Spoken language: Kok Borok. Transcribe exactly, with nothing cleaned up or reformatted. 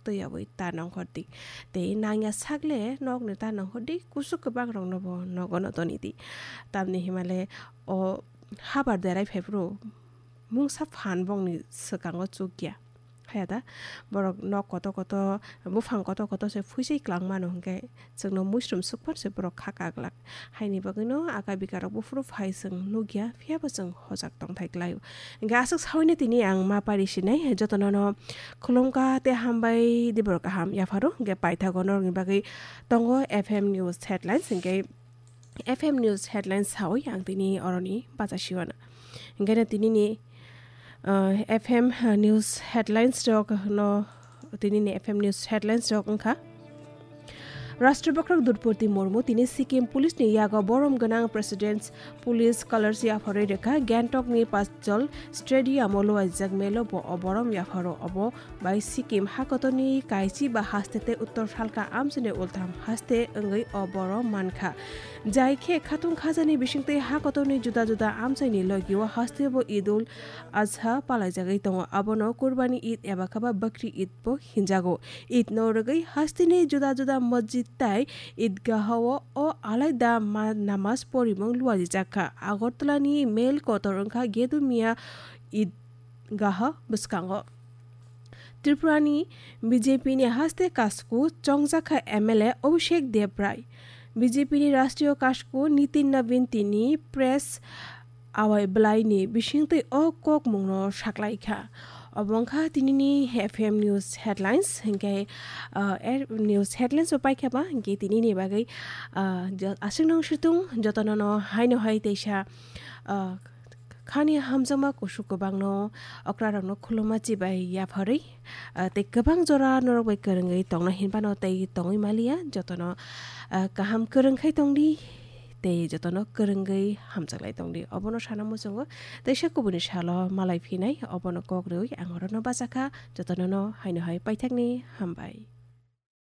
twi yawi ta nongkhor di. Tei nangya sak le nokni ta nongkhor di, kusuk kwbang rokno bo nogo no toni di. Tamni hima le o habar derai phai phuru mungsa phan bongni swkango chukya. Haya da, borok nok kotor kotor, buphang kotor kotor se phuisai kwlangmano hwnkhe chwngno muisrum sukphar se borok kha kaglak. Haini bagwino aka bika rok buphuru phai chwng nukya, phiyaba chwng hojak tongthai kwlaio. Hwnkhe aswk saui no tini ang ma pari sinai, jotono no khulumkha tei hambai, dibor kaham yapharo. Hwnkhe paithago norokni bagwi tongo F M News Headlines, hwnkhe F M News Headlines saui ang tini oroni bacha siwana. Hwnkhe no tinini, uh, F M News Headlines rok no, tinini F M News Headlines rok wngkha. Rashtrapati Droupadi Murmu tini Sikkim Police ni yago borom gwnang President's Police Colours yapharwi rwkha. Gangtok ni Pachjol Stadium o luaijak melo bo o borom yapharo. Obo bai Sikkim hakotorni kaichi ba haste tei uttor salka amchaini ultham haste wngwi o borom mankha. Jai khe khatung khajani bisingtwi hakotorni juda juda amchaini logio haste bo Eid ul Adha palaijagwi tongo. Abono Kurbani Eid eba khe ba Bakri Eid bo hinjago. Eid no rwgwi hasteni juda juda masjid tai idgahao o alaida ma-, namaz porimung luaijak kha. Agartala ni mel kotor wngkha Gedu Mia Eid gaha bwskango. Tripura ni B J P ni haste kasku chongjakha M L A Abhishek Debrai. B J P ni Rashtriyo Kasku Nitin Nabin tini press awai bwlai ni bisingtwi o kokmung no saklaikha. Obo wngkha tinini F M News Headlines, hinkhe, ah, er, News Headlines o paikha ba, hinkhe tinini bagwi, ah, jo-, aswk nang situng jotono no haino hai teisa, ah, khani hamjakma kusuk kwbangno okrarokno khuluma chibai yapharwi, ah, tei kwbang jora norok bai kwrwngwi tongna hinphano tei tongwi maliya, jotono, ah, kaham kwrwngkhai tongdi tei jotono kwrwngwi hamjaklai tongdi. Obono sana muchungo teisa kubuni salo malai phinai, obono kok rwui ang orono bachakha, jotonono haino hai paithakni hambai.